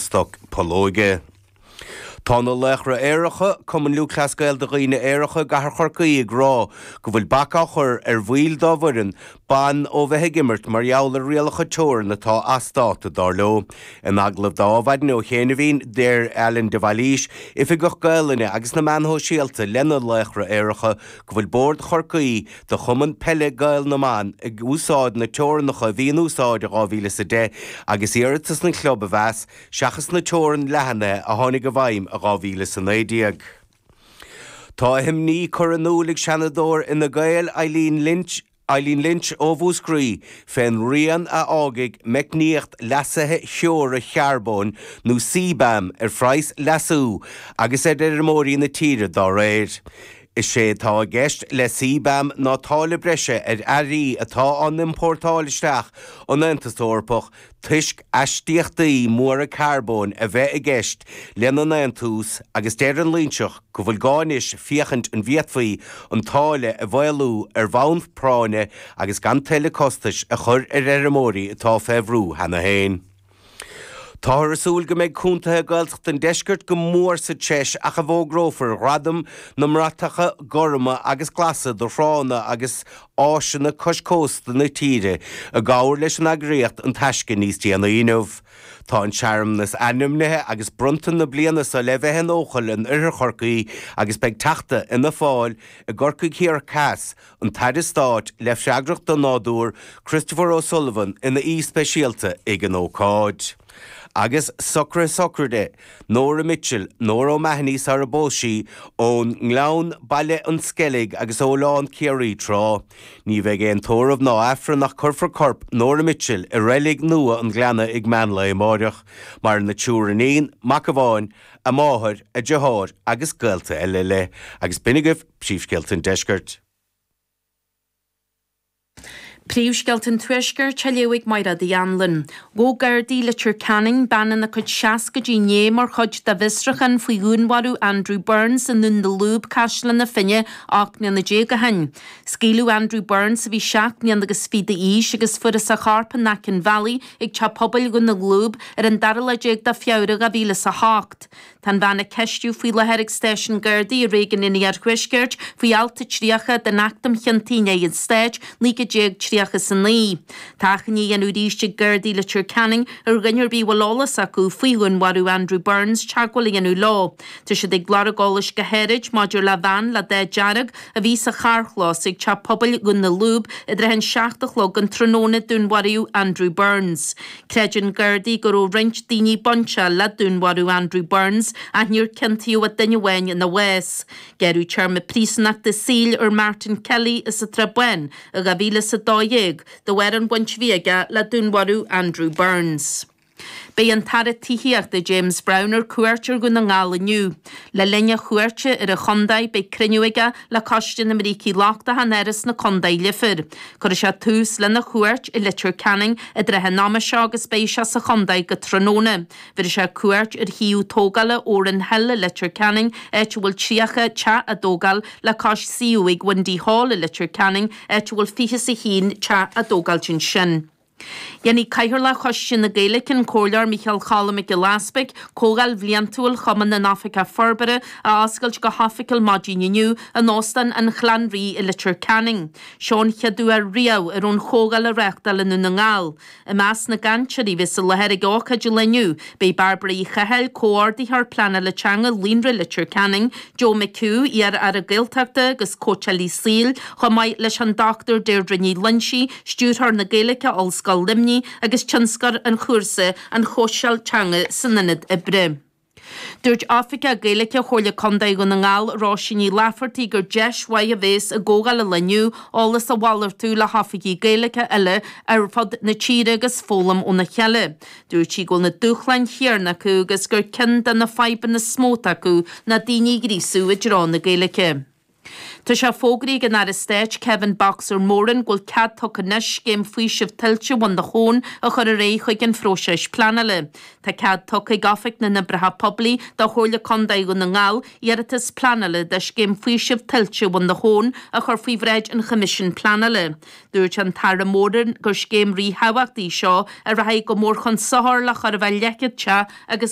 stoc pollóige. Tá na Laochra Aeracha, Cumann Lúthchleas Gael do dhaoine aeracha i gcathair Chorcaí ag rá go bhfuil bac á chur ar bhaill dá bhfoireann ban ó bheith ag imirt mar gheall ar rialacha teorann atá as dáta, dar leo. In agallamh d'Adhmhaidin ó chianaibhín, deir Alan de Bhailís, Oifigeach Gaelainne agus na Meáin Shóisialta le na Laochra Aeracha, go bhfuil Bord Chorcaí do Chumann Peile Gael na mBan ag úsáid na teorannacha a bhí in úsáid i 2010 agus iarratas an chlub a mheas seachas na teorann leathnaithe a tháinig i bhfeidhm i 2019. Tá a himní curtha in iúl ag Seanadóir Fhine Gael, Eileen Lynch, Eileen Lynch ó Mhúscraí, fén rian a fhágfaidh meicníocht leasaithe theora charbóin nó CBAM ar phraghas leasú agus ar fheirmeoirí na tíre dá réir. Is é atá i gceist le CBAM ná táille breise ar earraí atá á n-iompórtáil isteach ón Aontas Eorpach toisc aistíochtaí móra carbóin a bheith i gceist lena ndéantús agus deir an Loinseach go bhfuil gá anois féachaint an bhféadfaí an táille a mhaolú ar bhonn práinne agus gan tuilleadh costais a chur ar fheirmeoirí atá fé bhrú cheana féin. Táthar ag súil go mbeidh contaetha Gaeltachta an deiscirt go mór sa treis ach a bhfógrófar Gradaim na mBratacha Gorma agus Glasa do thránna agus áiseanna cois cósta na tíre i gcomhar leis an eagraíocht An Taisce níos déanaí inniu. Tá an searmanas ainmnithe agus bronnta na bliana seo le bheith in Eochaill in oirthear Chorcaí agus beidh Teachta Fhianna Fáil i gCorcaigh Thiar Theas, an tAire Stáit le freagracht don Nádúr, Christopher O'Sullivan ina aoi speisialta ag an ócáid. Agus socruithe sochraide Nóra Mitchell, Nóra O'Mahony sara bpós sí, ón nGleann, Baile an Sceilg agus ó Oileán Ciarraí tráth. Ní bheidh aon tórramh ná Aifreann ach cuirfear corp Nóra Mitchell i reilig nua an Ghleanna ag meán lae amáireach. Maireann a triúr iníon, mac amháin, a máthair, a deartháir agus gaolta eile léi. Agus b'in agaibh Príomhscéalta an Deiscirt. Príomhscéalta an Tuaiscirt á léamh ag Mairéad Uí Anluain. Ghabh Gardaí i Leitir Ceanainn bean ina cuid seascaidí inné mar chuid de bhfiosrúchán faoi dhúnmharú Andrew Burns i nDún na Lúb, Caisleán na Finne, 18 mbliana ó shin. Scaoileadh Andrew Burns, a bhí seacht mbliana agus fiche d'aois, agus fuarthas a chorp in aice an bhealaigh ag teach pobail Dhún na Lúb ar an dara lá déag de Feabhra 2008. Tá an bhean á ceistiú faoi láthair ag stáisiún Gardaí i réigiún an Iarthuaiscirt faoi alt 30 den Acht um Chiontaí in aghaidh an Stáit, 1939. Tá achainí á dhéanamh arís ag Gardaí Leitir Ceanainn ar dhuine ar bith a bhfuil eolas acu faoi dhúnmharú Andrew Burns teagmháil a dhéanamh leo. Tá siad ag lorg eolais go háirid maidir le veain le dath dearg a bhí sa charrchlós ag Teach Pobail Dhún na Lúb i dtrátha an seacht a chlog an tráthnóna a dúnmharaíodh Andrew Burns. Creideann Gardaí go raibh roinnt daoine bainteach le dúnmharú Andrew Burns ach níor ciontaíodh ach duine amháin ina bhás. Gearradh téarma príosúnachta saoil ar Martin Kelly as an tSrath Bán i 2012 de bharr an bhaint a bhí aige le dúnmharú Andrew Burns. Beidh an tAire Tithíochta James Browne ar cuairt ar Dhún na nGall inniu. Le linn a chuairte ar an chontae beidh cruinniú aige le Coiste na mBrící Lochtacha in Áras na Contae Leifear. Cuirfidh sé tús lena chuairt i Leitir Ceanainn i dtrátha an ama seo agus beidh sé sa chontae go tráthnóna. Bhéarfaidh sé cuairt ar shuíomh tógála Oran Hill i Leitir Ceanainn, áit a bhfuil 30 teach á dtógáil, le cois suíomh ag Windy Hall i Leitir Ceanainn, áit a bhfuil 21 teach á dtógáilt ansin. Dhéanfaidh Cathaoirleach Choiste na Gaeilge, an Comhairleoir Micheál Cholm Mac Giolla Easpaig, Comhdháil Bhliantúil Chumann na nOifigeach Forbartha a oscailt go hoifigiúil maidin inniu in Óstán an Chlann Rí i Leitir Ceanainn. Seo an chéad uair riamh a raibh an chomhdháil á reáchtáil i nDún na nGall. I measc na gcainteoirí a bheas i láthair ag ócáid an lae inniu, beidh Bairbre Uí Chathail, Comhordaitheoir Pleanála Teanga Líonra Leitir Ceanainn, Joe McHugh, iar-Aire Gaeltachta agus cóitseálaí saoil, chomh maith leis an Dr Deirdre Ní Loingsigh, Stiúrthóir na Gaeilge, Ollscoil Luimnigh, agus tionscnóir an chúrsa An Chóitseáil Teanga san Ionad Oibre. Dúirt Oifigeach Gaeilge Chomhairle Contae Dhún na nGall, Róisín Ní Laifeartaigh, gur deis mhaith a bhéas i gcomhdháil an lae inniu eolas a mhalartú le hoifigigh Gaeilge eile ar fud na tíre agus foghlaim óna chéile. Dúirt sí go bhfuil na dúshláin chéanna acu agus gur ceann de na fadhbanna is mó atá acu ná daoine a ghríosú i dtreo na Gaeilge. Tá sé fógraithe ag an Aire Stáit Kevin 'Boxer' Moran go bhfuil cead tugtha anois scéim faoisimh tuilte Bhun na hAbhann a chur ar aghaidh chuig an phróiseas pleanála. Tá cead tugtha ag Oifig na nOibreacha Poiblí do Chomhairle Contae Dhún na nGall iarratas pleanála do scéim faoisimh tuilte Bhun na hAbhann a chur faoi bhráid an Choimisiúin Pleanála. Dúirt an tAire Moran gur scéim ríthábhachtach í seo a rachaidh go mór chun sochair le chóir a bheith leathchéad teach agus.